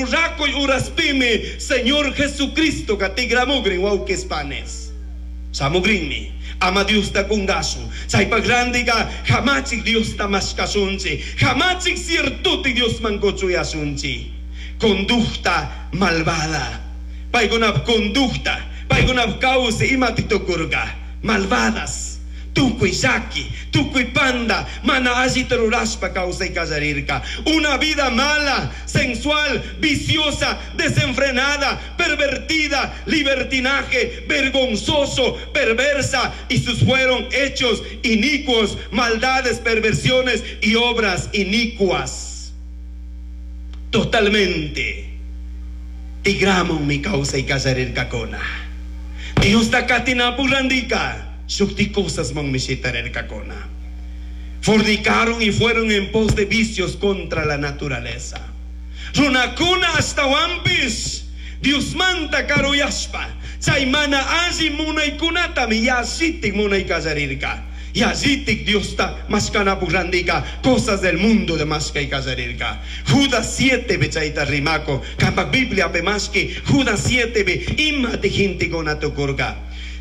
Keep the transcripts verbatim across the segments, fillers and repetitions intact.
Rurakuy uraspimi Señor Jesucristo tigramugrин wawqis panis. Shamugrinmi. Ama Diosta kungasun. Chaypak randiga hamachik Diosta mashkasunchi. Hamachik ciertuti Diosman kuchuyasunchi. Conducta malvada. Paykunap conducta. Paykunap kawsay imatik tukurka. Malvadas. Tukuy llaki, tukuy panda, mana allita rurashpa kawsay kallarirka. Una vida mala, sensual, viciosa, desenfrenada, pervertida, libertinaje, vergonzoso, perversa, y sus fueron hechos inicuos, maldades, perversiones y obras inicuas. Totalmente. Tigramunmi kawsay kallarirkakuna. Diosta katinapuk randika. Shukti cosasmanmi shitarirkakuna. Fornicaron y fueron en pos de vicios contra la naturaleza. Runakuna ashtawanpish. Diosmanta karuyashpa. Chay mana alli munaykunatami yallitik munay kallarirka. Yallitik Diosta mashkanapuk randika cosas del mundo de mashkay kallarirka. Judas siete pi chayta rimakun. Kampak Biblia pi mashki. Judas siete pi imati gentekuna tukurka.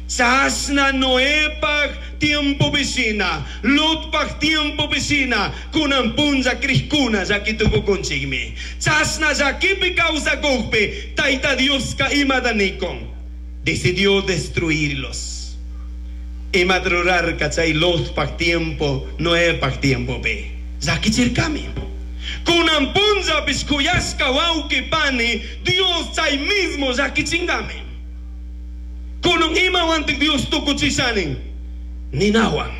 Chashna Noepak tiempo shina, Lotpak tiempo shina, kunan punlla crijkuna llaki tukukunchikmi. Chashna llakipi kawsakukpi, Tayta Dioska imata nikun. Decidió destruirlos. Imata rurarka chay Lotpak tiempo, Noepak tiempo pi. Llakichirkami. Kunan punllapish kuyashka wawki pani, Dios chay mismo llakichingami. Kunan imawantik Dios tukuchishanin. Ninawan.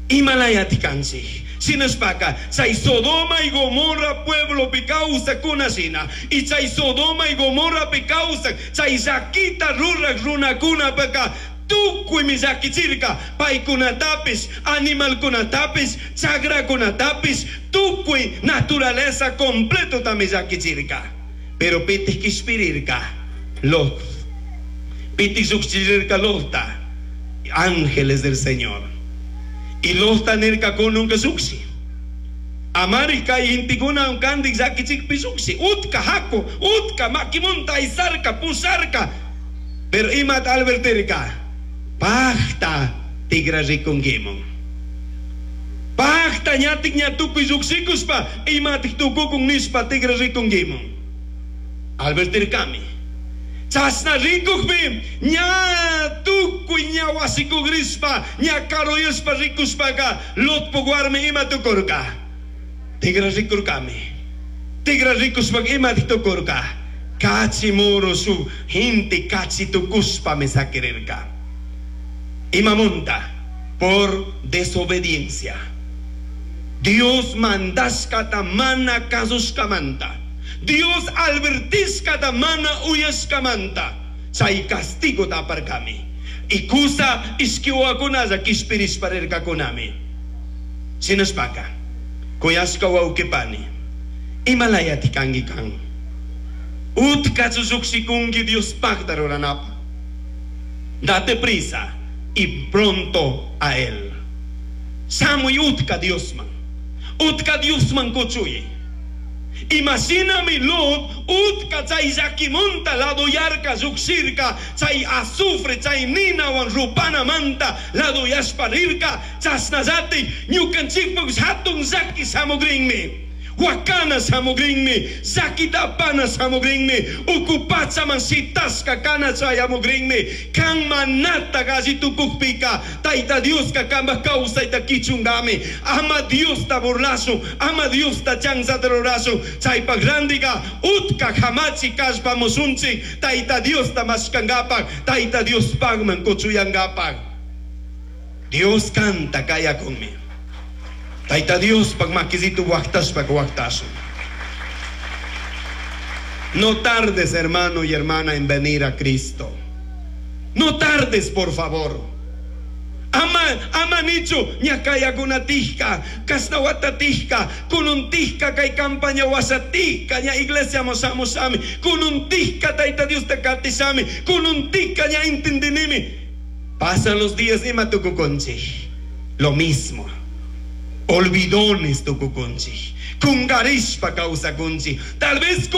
Imalayati kanchik. Shinashpaka, chay Sodoma y Gomorra pueblo pi kawsakuna shina. Y chay Sodoma y Gomorra pi kawsak, chay llakita rurak runakunapaka, tukuymi llakichirka, paykunatapish, animalkunatapish, chakrakunatapish, tukuy naturaleza completo tami llakichirka. Pero pitik kishpirirka, Lot. Pitik llukchirirka Lotta, ángeles del Señor. Y Lotta nirka kununka lluksi. Amari kay gentekuna kandik llakichikpi lluksi. Utka haku, utka makimunta aysarka, pusharka. Pero imat advertirka, pakta tigra rikunkimun. Pakta ñatik ña tukuy llukshikuspa, imatik tukukun nishpa tigra rikunkimun. Advertirkami. Chashna rikukpi, ña tukuy ña wasikugrishpa, ña karuyashpa rikushpaka, Lotpuk warmi ima tukurka. Tigra rikurkami. Tigra rikushpaka ima tukurka. Kachi muru su gente kachi tukushpami sakirirka. Imamunta, por desobediencia. Dios mandashkata mana kasushkamanta. Dios advertishkata mana uyashkamanta. Chay castigo aparkami. Y kusa ishki wawakunalla kishpirishpa rirkakunami. Shinashpaka, kuyashka wawqi pani. Imalayati kanki kan. Utkachu llukshikunki Diospakta ruranapa. Date prisa y pronto a él. Shamuy utka Diosman. Utka Diosman kuchuyi. Imashinami Lot, utka chay llakimunta ladoyarka llukshirka, chay azufre, chay ninawan rupanamanta ladoyashpa rirka, chashnallati ñukanchikpak hatun llaki shamugrinmi. Wakana shamugrinmi, llakita apana shamugrinmi, uku pachaman shitashka kana chayamugrinmi, kan manata alli tukukpika, Tayta Dioska kambaj kawsayta kichungami, ama Diosta burlashun, ama Diosta chanzata rurashun, chaypak randiga, utka hamachi kallpamushunchik, Tayta Diosta mashkangapak, Tayta Diospakman kuchuyangapak. Dios kanta kayakunmi. Tayta Diospak makisitu waktashpak waktashun. No tardes, hermano y hermana, en venir a Cristo. No tardes, por favor. Ama, ama nichu, ñakayakuna tijka, kasnawata tijka, kunun tijka, kay campaña wasatijka, ña iglesia moshamosami, kunun tijka, Tayta Diosta katishami, kunun tijka, ña entendinimi. Pasan los días ima tukukunchi. Lo mismo. Olvidones tukukunchi. Kungarishpa kawsakunchi. Tal vez